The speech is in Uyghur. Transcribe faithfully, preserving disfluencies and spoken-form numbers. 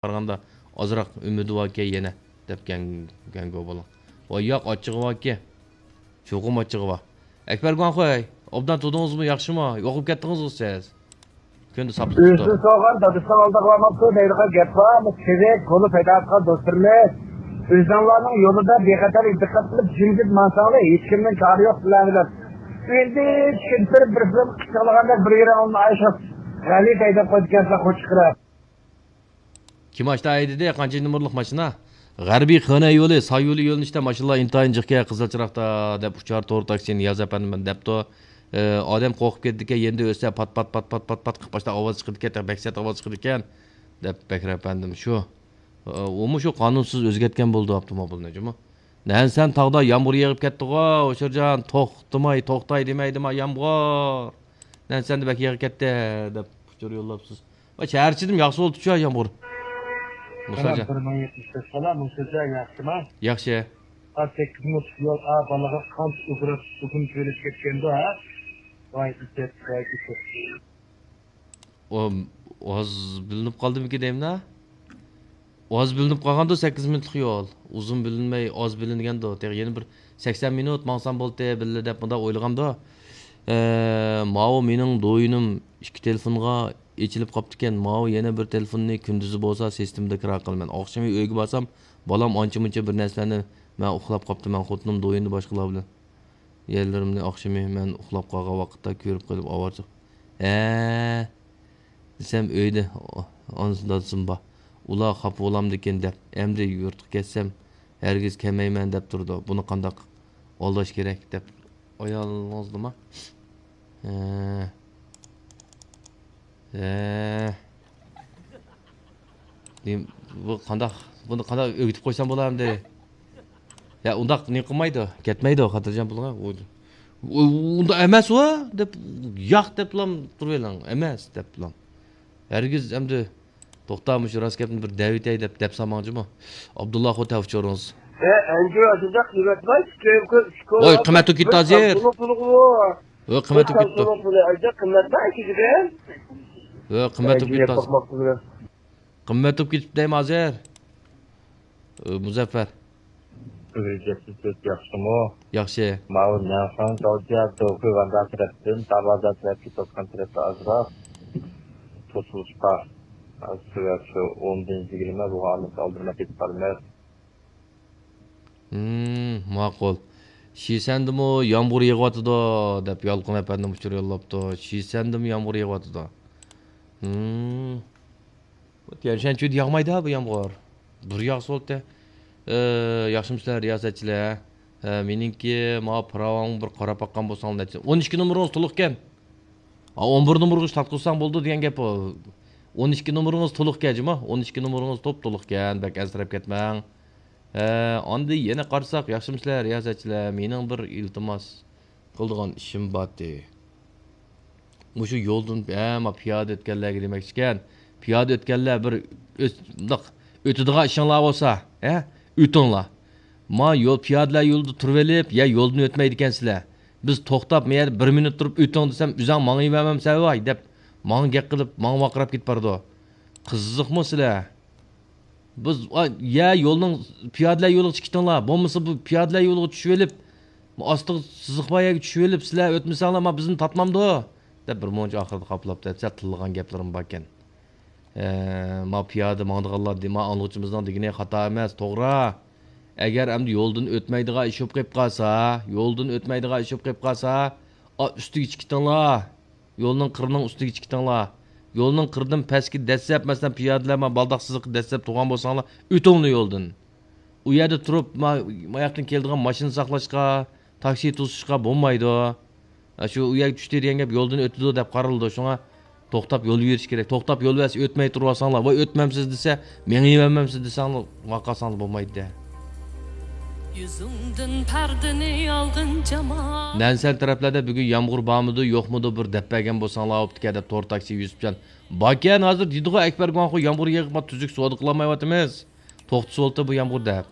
قارىغاندا ئازراق ئۈمىدى باركەن يەنە، دەپ گەڭ-، گەڭگو بولۇڭ. ۋاي ياق، ئاچچىقى باركەن. چوقۇم ئاچچىقى بار. ئەكبەر گۇاڭخۇي، ئوبدان تۇردىڭىزمۇ، ياخشىمۇ؟ يوقىلىپ كەتتىڭىزغۇ سىز. كۈندە ساپلىق تۇتۇپ. ئۆزىنى سورىغان دادىسىنىڭ ئالدىغا بارماپتۇ دەيدىغان گەپ بار. تېزەك، قولى پەيدا قىلغان دوستلىرىمىز، ئۆزۈڭلارنىڭ يولىدا بىخەتەر دىققەت قىلىپ جىمجىت ماڭساڭلار، ھېچكىمنىڭ كارى يوق سىلەر بىلەن. ئۆزى چۈشكىنىپ بېرىپ، بىر خىل قىچىغلىغاندەك بىر يېرىڭ ئالماي شۇ غەلىتە ھەيدەپ قويىدىكەنسىلەر قوچۇقراق. كىم ئاشتا ھەيدىدى؟ قانچىنچى نومۇرلۇق ماشىنا؟ غەربىي خېنەي يولى، ساي يولى يۆنىلىشتە ماشىنىلار ئىنتايىن جىق ئىكەن، قىزىل چىراغدا، دەپ ئۇچار تور تاكسى نىياز ئەپەندى مانا دەپتۇ. ئادەم قورقۇپ كېتىدىكەن، يېنىدا ئۆتسە پات، پات، پات، پات، پات، پات قىلىپ باشتا ئاۋاز چىقىدىكەن، بەك سەت ئاۋاز چىقىدىكەن، دەپ بەكرى ئەپەندىم شۇ. ئۇمۇ شۇ قانۇنسىز ئۆزگەرتكەن بولىدۇ ئاپتوموبىلنى جۇمۇ. نەنسەن تاغدا يامغۇر يېغىپ كەتتىغۇ، ھوشۇرجان، توختىماي، توختاي دېمەيدىما يامغۇر؟ نەنسەندە بەك يېغىپ كەتتى، دەپ ئۇچۇر يوللاپسىز. ۋاي، شەھەرچىدىم ياخشى بولدى شۇ يامغۇر. مۇساجان. بىر مىڭ يەتمىش بەش بالا، مۇساجان ياخشىما؟ ياخشى. ئا، سەككىز مىنۇت يول، ئا، بالىغا قانچە ئۇگرا، ئۇگۇن تۆلەپ كەتكەندۇ، ھە؟ ۋاي، ئىجاد، ۋاي، ئىجاد. ئۇ ئاز بىلىنىپ قالدىمىكىن دەيمىنا؟ ئاز بىلىنىپ قالغاندۇ، سەككىز مىنۇتلۇق يول. ئۇزۇن بىلىنمەي، ئاز بىلىنگەندۇ. تېخى يەنە بىر سەكسەن مىنۇت ماڭسام بولدى بىللە دەپ مۇنداق ئويلىغاندۇ. ئە، ماۋۇ مېنىڭ دويىنىم ئىككى تېلېفونغا ئېچىلىپ قاپتىكەن. ماۋۇ يەنە بىر تېلېفوننى كۈندۈزى بولسا سىستېمىدا كىرا قىلىمەن. ئاخشىمى ئۆيگە بارسام، بالام ئانچە-مۇنچە بىر نەرسىلەرنى، مەن ئۇخلاپ قاپتىمەن، خوتۇنۇم دويىندا باشقىلار بىلەن. يەرلىرىمنى ئاخشىمى مەن ئۇخلاپ قالغان ۋاقىتتا كۆرۈپ قېلىپ ئاۋارىچىلىق. ھە دېسەم، ئۆيدە ئانىسى دادىسىمۇ بار. ئۇلار خاپا بولامدىكىن دەپ، ئەمدى يۇرتقا كەتسەم، ھەرگىز كەلمەيمەن دەپ تۇرىدۇ. بۇنى قانداق ئالداش كېرەك دەپ. ئايالىڭىزنىما؟ ھە. ھە. دېم-، بۇ قانداق، بۇنى قانداق ئۆگىتىپ قويسام بولامدى؟ يا، ئۇنداق نېمە قىلمايدۇ، كەتمەيدۇ، خاتىرجەم بولۇڭ. ئۇ، ئۇ، ئۇنداق ئەمەس ئۇ، دەپ، ياق دەپلا تۇرۇۋېلىڭ، ئەمەس دەپلا. ھەرگىز ئەمدى، توختا، مۇشۇ راست گەپنى بىر دەۋېتەي دەپ، دەپ سالماڭ جۇمۇ. ئابدۇللا خو تەۋە ئۇچۇرىڭىز. ئە، ئەنجۈ ئاشۇنداق قىممەت بار، ئىككى، ئۈچ كوي. ۋاي، قىممەت بولۇپ كېتتى ھازىر. ۋاي، قىممەت بولۇپ كېتىپتۇ. ۋە، قىممەت بولۇپ كېتىپتۇ. قىممەت بولۇپ كېتىپتۇ. قىممەت بولۇپ كېتىپتۇ دەيمەن ھازىر. ئى، مۇزەففەر. ئۆزگەرتىش ياخشىمۇ؟ ياخشى. ماۋۇ نەنخۇەن جاۋجيا دوخۇي ۋاندا تەرەپتىن دەرۋازا تەرەپ كېتىۋاتقان تەرەپتە ئازراق توسۇلۇش بار. سەۋەب شۇ ئوندىن يىگىرمە بولغان ئالدىرىماي كېتىپ بارىمىز. ھىم، ماقۇل. شىسەندىمۇ يامغۇر يېغىۋاتىدۇ، دەپ يالقۇن ئەپەندىم ئۇچۇر يوللاپتۇ. شىسەندىمۇ يامغۇر يېغىۋاتىدۇ. ھىم. تيەنشەنچۈدە ياغمايدۇ بۇ يامغۇر. بىر ياغسا بولدى. ئى، ياخشىمۇسىلەر رىياسەتچىلەر؟ ھە، مېنىڭكى ماۋۇ پىراۋاڭغا بىر قاراپ باققان بولساڭلار نەچچە. ئون ئىككى نومۇرىڭىز تولۇقكەن. ھا، ئون بىر نومۇرغا تارتقۇزساڭ بولىدۇ دېگەن گەپ ئۇ. ئون ئىككى نومۇرىڭىز تولۇقكەن جۇمۇ. ئون ئىككى نومۇرىڭىز توپتولۇقكەن، بەك ئەنسىرەپ كەتمەڭ. ھە، ئاندىن يەنە قارىساق، ياخشىمۇسىلەر رىياسەتچىلەر؟ مېنىڭ بىر ئىلتىماس قىلىدىغان ئىشىم بارتى. مۇشۇ يولدىن، ھە، ما پىيادە ئۆتكەنلەرگە دېمەكچىكەن. پىيادە ئۆتكەنلەر بىر ئۆت-، مۇنداق ئۆتىدىغان ئىشىڭلار بولسا، ھە، ئۆتۈڭلار. ما يول، پىيادىلەر يولىدا تۇرۇۋېلىپ، يا يولدىن ئۆتمەيدىكەنسىلەر. بىز توختاپ، ما يەردە بىر مىنۇت تۇرۇپ ئۆتۈڭ دېسەم، ئۆزۈڭ ماڭىۋەرمەمسەن ۋاي دەپ، ماڭا گەپ قىلىپ، ماڭا ۋارقىراپ كېتىپ بارىدۇ. قىزىقمۇ سىلەر؟ بىز، ئا، يە يولنىڭ، پىيادىلەر يولىغا چىقىپ كېتىڭلار، بولمىسا بۇ پىيادىلەر يولىغا چۈشۈۋېلىپ، ئاستىغا سىزىق بار يەرگە چۈشۈۋېلىپ، سىلەر ئۆتمىسەڭلار، ما بىزنى تارتمامدۇ؟ دەپ بىر مۇنچە ئاخىرىدا قاپلاپ دەپ سەل تىللىغان گەپلىرىم باركەن. ئە، ما پىيادە ماڭىدىغانلار دېما ئاڭلىغۇچىمىزنىڭ دېگىنى خاتا ئەمەس، توغرا. ئەگەر ئەمدى يولدىن ئۆتمەيدىغان ئىش بولۇپ قېلىپ قالسا، يولدىن ئۆتمەيدىغان ئىش بولۇپ قېلىپ قالسا، ئا، ئۈستىگە چىقىپ كېتىڭلار. يولنىڭ قىرىنىڭ ئۈستىگە چىقىپ كېتىڭلار. يولنىڭ قىرىدىن پەسكە دەسسەپ، مەسىلەن، پىيادىلەر ما بالداق سىزىققا دەسسەپ تۇرغان بولساڭلار، ئۆتۈڭلار يولدىن. ئۇ يەردە تۇرۇپ، ما، ماياقتىن كېلىدىغان ماشىنا ساقلاشقا، تاكسى توسۇشقا بولمايدۇ. ئا، شۇ ئۇ يەرگە چۈشتى دېگەن گەپ يولدىن ئۆتىدۇ دەپ قارىلىدۇ. شۇڭا توختاپ يول بېرىش كېرەك. توختاپ يول بەرسە ئۆتمەي تۇرۇۋالساڭلار، ۋاي ئۆتمەمسىز دېسە، مېڭىۋەرمەمسىز دېسەڭلار، ۋارقىرىساڭلار بولمايدۇ. يۈزۈڭدىن پەردىنى ئالغىن جامال. نەنسەن تەرەپلەردە بۈگۈن يامغۇر بارمىدۇ، يوقمىدۇ، بىر دەپ بەرگەن بولساڭلار بوپتىكەن دەپ تور تاكسى يۈسۈپجان. باركەن ھازىر دېدىغۇ ئەكبەر گۇاڭخۇ يامغۇر يېغىپ تۈزۈك سودا قىلالمايۋاتىمىز. توختىسىۋالدى بۇ يامغۇر دەپ.